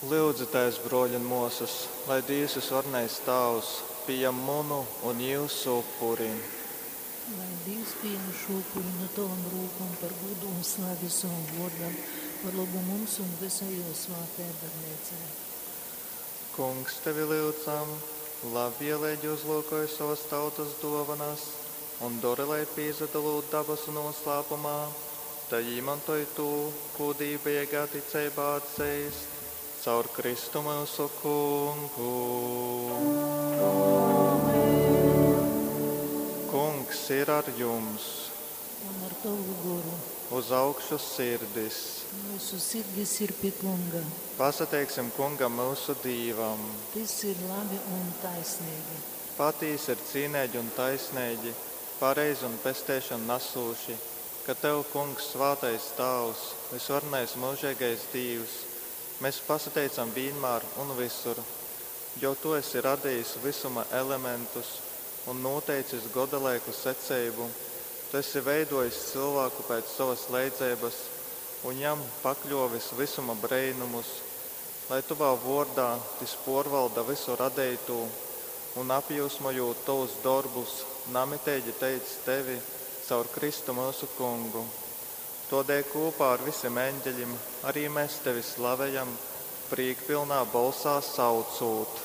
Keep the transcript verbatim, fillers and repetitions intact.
Lyudzitēs, brōļi un mōsas, lai Dīvs vysvarenais Tāvs pījam munu un jyusu upuri. Lai Dīvs pījam šo upuri no tovom rūkom par gūdu un slavi savam vōrdam, par lobu mums un visai jō svātajai baznīcai. Kungs, tevi lyudzam, labvieleigi uzlūkoj sovas tautas dōvanas un dori, lai pīsadalūt dabasu noslēpumā, tai īmantoj tū, kū dīvbejeigā ticeibā atzeist, caur Kristu myusu Kungu. Amen. Kungs ir ar jums. Un ar tovu goru. Uz augšu sirdis. Mūsu sirdis ir pie Kunga. Pasateiksim Kungam myusu Dīvam. Tas ir labi un taisnīgi. Patīsi ir cīneigi un taisneigi, pareizi un pesteišanu nasūši, ka Tev, Kungs, svātais Tāvs, vysvarenais mūžīgais Dīvs, mēs pasateicam vienmēr un visur, jo Tu esi radījis visuma elementus un noteicis godalaiku secību. Tu esi veidojis cilvēku pēc savas leidzeibas un jam pakļovis visuma breinumus, lai Tavā vōrdā tis porvalda visu radeitū un apjūsmojot Tavus darbus, namiteigi teic Tevi caur Kristu mūsu Kungu. Todēļ kopā ar visiem eņģeļiem arī mēs Tevi slavējam, prīkpilnā balsā saucot.